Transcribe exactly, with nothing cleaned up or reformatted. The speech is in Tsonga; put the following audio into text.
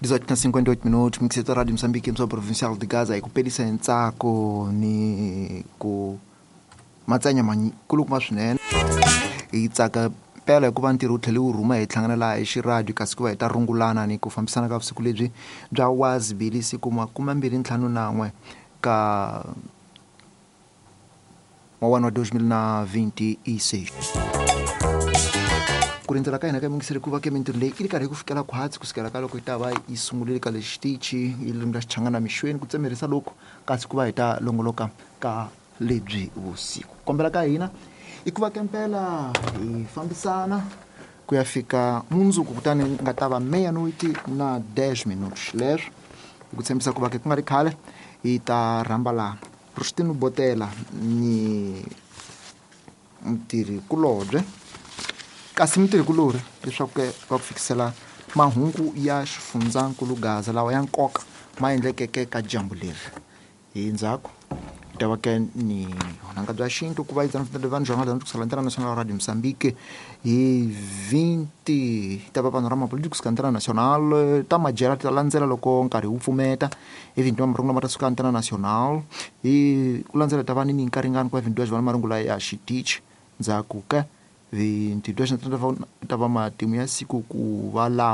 dezoito na cinquenta e oito minutos, mixeta Rádio Moçambique, emissora provincial de Gaza, hi ku pelisa hi ntsako ni ku matsanya makulukumba swinene. Hi tsaka mpela hikuva ntirho wu tlhele wu rhuma hi hlangana laha hi xiradio, kasi ku va hi ta rungulana ni ku fambisana ka vusiku lebyi bya wazibili, siku makume mbirhi ntlhanu nan'we ka wa dois mil na vinte e seis. Ku rindzela ka hina ka mingiseri ku va ke mintirho leyi yi ri karhi ku fikela khwatsi kusukela ka loko yi ta va yi sungurile ka le xitichi hi ririmi ra Xichangana mixweni ku tsemerisa loku, kasi ku va hi ta longoloka ka lebyi vusiku. Kombela ka hina i ku va kempela hi fambisana ku ya fika mundzuku, kutani nga ta va meia-noite na dez minutos. Leswo hi ku tshembisa ku va ke ku nga ri khale hi ta rhamba laha Rustino Botela ni mutirhi kulobye, kasi mutirhi kulorhi, leswaku ke va ku fikisela mahungu ya xifundzankulu Gaza lawa ya nkoka ma endlekeke ka dyambu leri. Hi ndzhaku hi ta va ke ni vunanga bya xintu ku va yi vanhu jornal kusukela Antena Nacional Radio Mozambique. Hi vinte ta va panorama político kusuka Antena Nacional, ta majela ti ta landzela loko nkarhi wu pfumeta. Hi vinte wa marungula ma ta suka Antena Nacional, hi ku landzela ta va ni nkaringani ku va vinte va marungula ya xitichi. Ndzhaku ka vinte ta va matimu ya siku ku va lawa.